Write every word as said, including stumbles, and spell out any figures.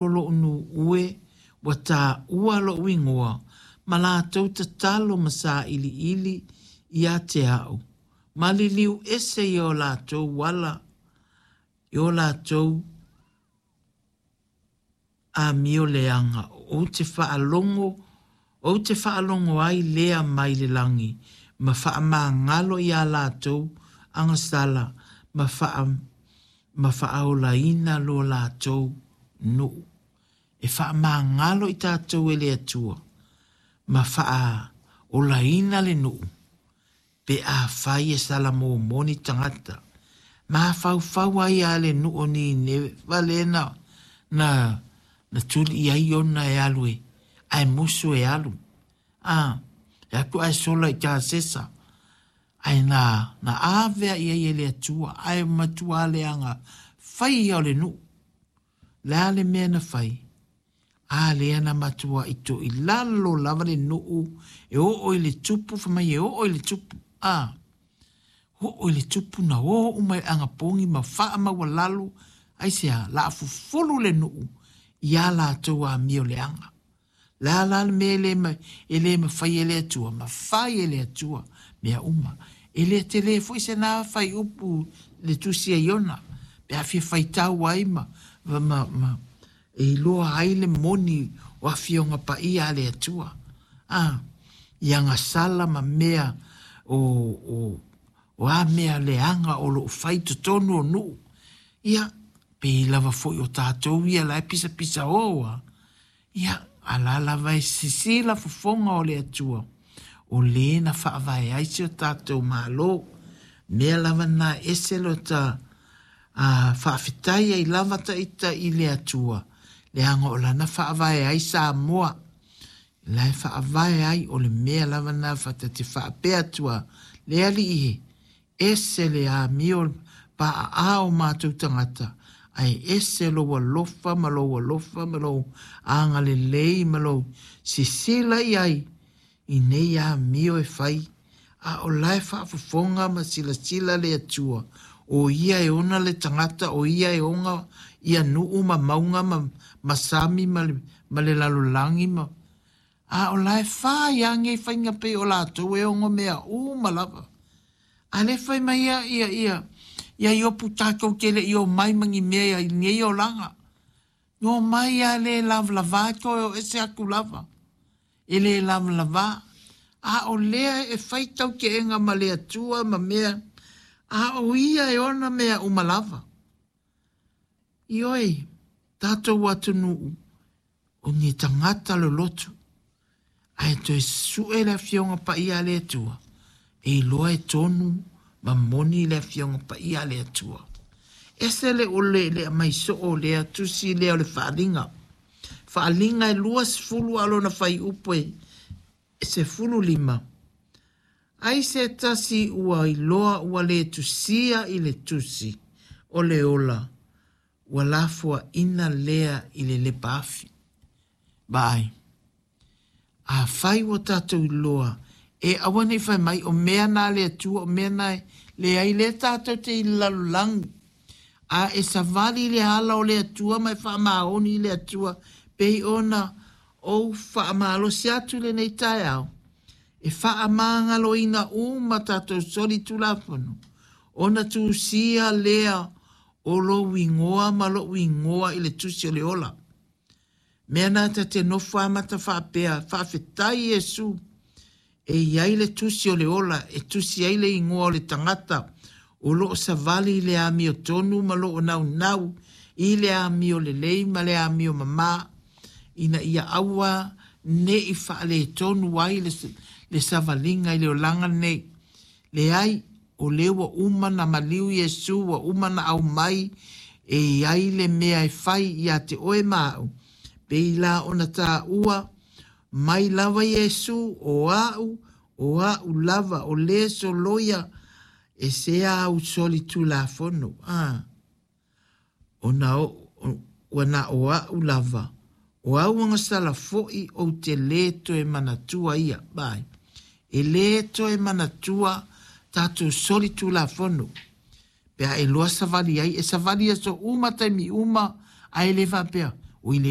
Loʻu nuʻu e ua taua loʻu igoa ma lātou tatalo ma saʻiliʻili ia te aʻu ma liliu ese i o lātou ala i o lātou amio leaga ou te faalogo ou te faalogo ai lea mai le lagi ma faamagalo iā lātou agasala ma faa ma faaolaina lo lātou nuʻu. E faamagalo i tatou e le Atua ma faaolaina le nuʻu pe afai e salamomoni tagata. Mafaufau ai a le nuʻu o Nineva lea na na na tuli i ai Iona e alu e ae musu e alu. A e atu ae sola i Tasesa ae na na ave i ai e le Atua ae matua leaga fai ia o le nuʻu. Le a le mea na fai a lea na matua i to i lalo lava le nuʻu e oo i le tupu fai mai e oo i le tupu a oo i le tupu na o uma i le agapogi ma faamaualalo aisea la fufulu le nuʻu iā latou amio leaga. Le a la le mea e le e le mafai e le Atua, mafai e le Atua mea uma. E le tele foi se na faiupu le tusi a Iona pe a fia faitau ai ma ma ma e iloa ai le moni o afioga paia a le Atua. A i agasala ma mea o o o a mea leaga o loo fai totonu o nuʻu. Ia pei lava foi o tatou ia la e pisapisa o a. Ia a la lava e sisila fofoga o le Atua o lē na faavae ai si o tatou Malo. Mea lava na ese lo ta a faafetai ai lava taita i le Atua leaga o lana faavae ai Samoa. La e faavae ai o le mea lava na fatate faapea atua le alii e ese le amio paaa o matou tagata ae ese lou alofa ma lou alofa ma lou agalelei ma lou sisila i ai i nei amio e fai a o la e faafofoga ma silasila le Atua o ia e ona le tagata o ia e ona ia nuʻu ma mauga ma, ma sami ma le, ma le lalolagi ma a o la e fai a nei faiga pei o latou e ono mea uma lava. A le fai mai ia ia ia ia Iopu tatou te le i o mai ma ni mea ia i nei olaga. No mai a le lavalava toe o ese atu lava. E le lavalava. A o lea e fai tauteega ma le Atua ma mea a o ia e ona mea uma lava. Ioe, tatou atunuu o ni tagata lolotu. Ae toe sue le afioga paia a le Atua e iloa e tonu ma moni le afioga paia a le Atua. Ese le ole le aumai soo lea tusi lea o le Faaaliga. Faaaliga e luasefulu a o lona fuaiupu e sefulu lima. Ai se tasi ua iloa ua le tusia i le tusi o le ola ua lafoaina lea i le lepa afi. Vaai. Afai ua tatou iloa e aua nei fai mai o mea na le Atua o mea na e leai lea tatou te i le lalolagi. A e savali i le ala o le Atua ma e faamaoni i le Atua pei ona ou faamalosi atu lenei taeao e faamagaloina uma tatou solitulafono ona tusia lea o lou igoa ma loʻu igoa i le tusi o le ola. Mea na ta te nofo amata faapea faafetai Iesu e iai le tusi o le ola e tusi ai le igoa o le tagata o loo savali i le amiotonu ma loo naunau i le amio lelei ma le amio mamā ina ia aua nei faaletonu ai le, le savaliga i le olaga lenei. Leai, o lea ua uma na maliu Iesu ua uma na aumai e iai le mea e fai ia te oe ma aʻu. Pei la ona taua mai lava Iesu o aʻu o aʻu lava o le soloia e se au solitulafono. A ona o ua na o aʻu lava o au agasala foi ou te lē toe manatua ia. Vai. E lē toe manatua tatou solitulafono. Pe a e loa savali ai, e savali aso uma taimi uma, ae le faapea, O i le